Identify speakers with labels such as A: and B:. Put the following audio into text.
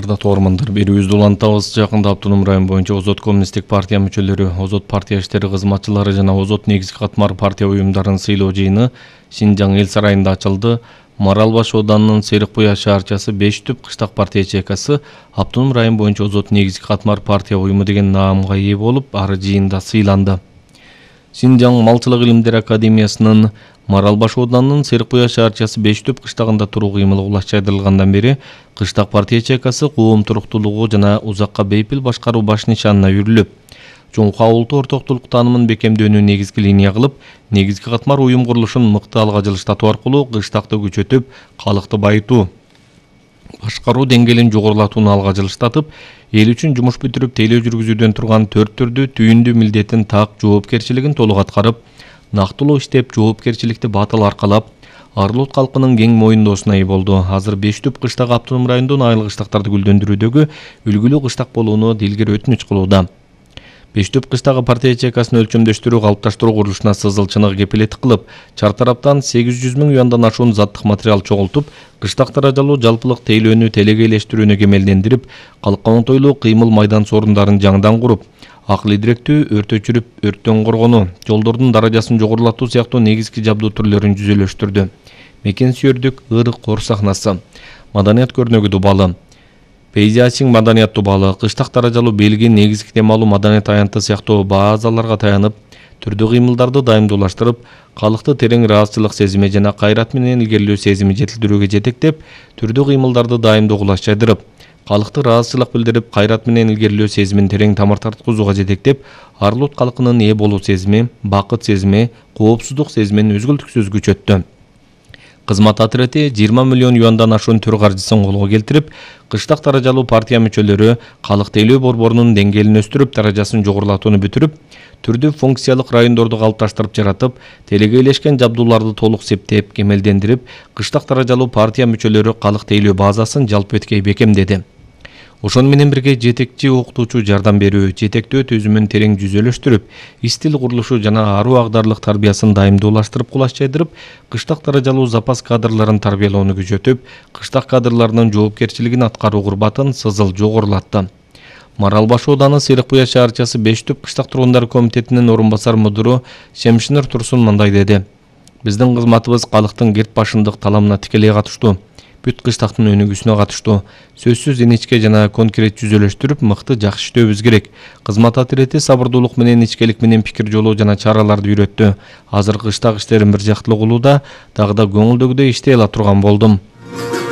A: Кырдаттуу угармандар, берүүбүздү улантабыз. Жакында Автоном район боюнча Озот коммунисттик партия мүчөлөрү, Озот партия иштери кызматчылары жана Озот негизги катмар партия уюмдарын сыйлоо жыйыны Шинжаң эл сарайында ачылды. Маралбаш ауданынын Серикбуя шаарчасы 5 түп кыштак партия ячейкасы Автоном район боюнча Озот негизги катмар партия уюму деген наамга ээ болуп, ары жыйында сыйланды. Шинжаң малчылык илимдери академиясынын Маралбаш ауданынын Серикбуя шаарчасы 5 түп кыштагында туруу кыймылы кулаш жайдырылгандан бери кыштак партия ячейкасы коом туруктуулугу жана узакка бейпил башкаруу баш нишанына үйрүлүп, чоңку улуттуу ортоктулук таанымын бекемдөөнү негизги линия кылып, негизги катмар уюм курулушун мыкты алга жылыштатуу аркылуу кыштакты күчөтүп, калыкты байытуу, башкаруу деңгээлин жогорулатууну алга жылыштатып, эл үчүн жумуш бүтүрүп тейлөө жүргүзүүдөн турган 4 түрдүү түйүндүү милдетин так жоопкерчилигин толук аткарып, нактылуу иштеп, жоопкерчиликти батыл аркалап, Арлут калкынын кең моюндоосуна ээ болду. Азыр 5 түп кыштак Автоном районунун айыл кыштактарды гүлдөндүрүүдөгү үлгүлүү кыштак болууну дилгер өтүнүч кылууда. 5 түп кыштагы партия ячейкасын өлчөмдөштүрүү, калыпташтыруу курулушуна сызылчыныгы кепилеттик кылып, чар тараптан 800 000 юандан ашуун заттык материал чогултуп, кыштак даражалуу жалпылык тейлөөнү телегейлештирүүнү кемелдендирип, калкка оңтойлуу кыймыл майдан сорундарын жаңыдан куруп, акыл идиректүү өрт өчүрүп, өрттөн коргонуу, жолдордун даражасын жогорулатуу сыяктуу негизги жабдуу түрлөрүн жүзөлөштүрдү. Мекен сүйөрдүк ырык кор сахнасы, маданият көрнөгү дубалы, пейзаждык маданият дубалы, кыштак даражалуу белги, негизги темалуу маданият аянты сыяктуу базаларга таянып, түрдүү кыймылдарды дайымдуулаштырып, калыкты терең ыраазычылык сезими жана кайрат менен илгерилөө сезими жетилдирүүгө жетектеп, түрдүү кыймылдарды дайымдуу кулаш жайдырып, калыкты ыраазычылык билдирип, кайрат менен илгерилөө сезимин терең тамыр тарткызууга жетектеп, Арлут калкынын ээ болуу сезими, бакыт сезими, коопсуздук сезимин үзгүлтүксүз күчөттү. Кызмат отряды 20 миллион юандан ашуун төр каржысын колго келтирип, кыштак даражалуу партия мүчөлөрү калык тейлөө борборунун деңгээлин өстүрүп, даражасын жогорулатууну бүтүрүп, түрдүү функциялык райондорду калыпташтырып жаратып, телегейлешкен жабдууларды толук септеп, кемелдендирип, кыштак даражалуу партия мүчөлөрү калык тейлөө базасын жалпы эткей бекемдеди. Ошону менен бирге жетекчи окутуучу жардам берүү, жетектөө түзүмүн терең жүзөлөштүрүп, истил курулушу жана аруу агдарлык тарбиясын дайымдуулаштырып, кулаш жайдырып, кыштак даражалуу запас кадрларын тарбиялоону күчөтүп, кыштак кадрларынын жоопкерчилигин аткаруу курбатын сызыл жогорулатты. Маралбаш ауданы Серикбуя шаарчасы 5 түп кыштак тургундар комитетинин орун басар мудуру Шемшинер Турсун мындай деди: Биздин кызматыбыз калыктын керт башындык таламына тикелей катыштуу. Бүт кыштактын өнүгүүсүнө катыштуу. Сөзсүз иничке жана конкрет жүзөлөштүрүп, мыкты жакшы иштөөбүз керек. Кызмат отряды сабырдуулук менен, ичкелик менен пикир жолоо жана чараларды үйрөттү. Азыр кыштак иштерин бир жактылуу кылууда, дагы да көңүлдөгүдөй иштей ала турган болдум.